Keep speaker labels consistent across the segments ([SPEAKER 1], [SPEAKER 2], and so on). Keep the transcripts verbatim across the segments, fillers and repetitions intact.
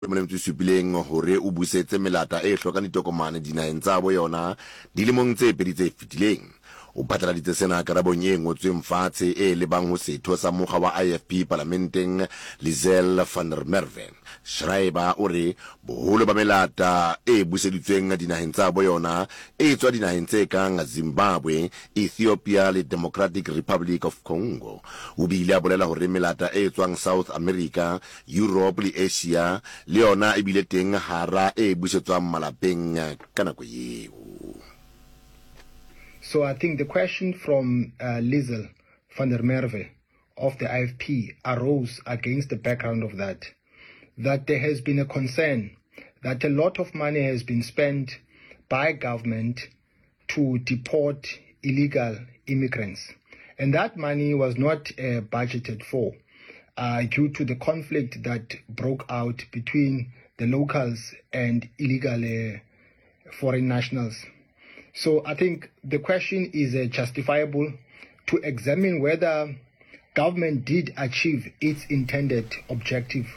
[SPEAKER 1] Le metso e supileng hore o busetse melata e hlokang ditokomane dinaheng tsa bo yona dilemong tse pedi tse fetileng. O phatlaladitse sena karabong e ngotsweng fatshe e lebang ho setho sa mokga wa I F P palamenteng, Liezel van der Merwe. Schreiber o re boholo ba melata e buseditsweng dinaheng tsa bo yona e tswa dinaheng tse kang Zimbabwe, Ethiopia le Democratic Republic of Congo. O bile a bolela hore melata e tswang South America, Europe le Asia le yona e bile teng hara e busetswang malapeng ka nako eo.
[SPEAKER 2] So I think the question from uh, Liezel van der Merwe of the I F P arose against the background of that, that there has been a concern that a lot of money has been spent by government to deport illegal immigrants. And that money was not uh, budgeted for uh, due to the conflict that broke out between the locals and illegal uh, foreign nationals. So I think the question is uh, justifiable to examine whether government did achieve its intended objective.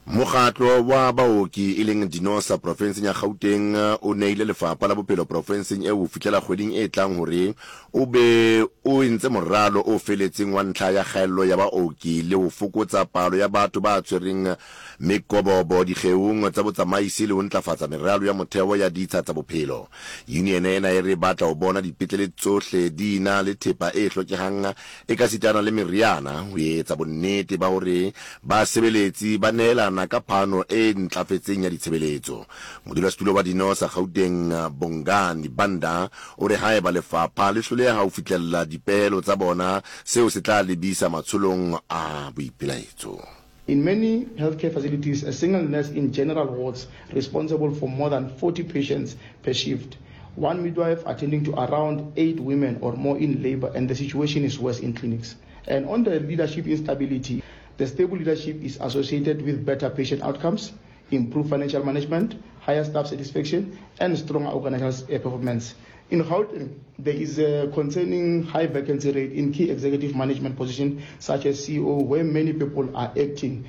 [SPEAKER 1] Mokgatlo wa baoki e leng Dinosa profenseng ya Gauteng o neile lefapha la bophelo profenseng eo ho fihlela kgweding e tlang hore o be o entse moralo o feletseng wa ntlha ya kgaello ya baoki le ho fokotsa palo ya batho ba tshwereng mekobobo dikgeong tsa botsamaisi le ho ntlafatsa meralo ya motheo ya ditsha tsa bophelo. Union ena e re batla ho bona dipetlele tsohle di na le thepa e hlokehang e ka sitana le meriana ho etsa bonnete ba hore basebeletsi ba nehelana ka phano e ntlafetseng ya ditshebeletso. Modulasetulo wa Dinosa Gauteng, Bongani Banda, o re haeba lefapha le hloleha ho fihlella dipehelo tsa bona, seo se tla lebisa matsholong a boipelaetso.
[SPEAKER 3] In many healthcare facilities, a single nurse in general wards responsible for more than forty patients per shift. One midwife attending to around eight women or more in labor, and the situation is worse in clinics. And on the leadership instability, the stable leadership is associated with better patient outcomes, improved financial management, higher staff satisfaction, and stronger organizational performance. In Gauteng, there is a concerning high vacancy rate in key executive management positions such as C E O, where many people are acting.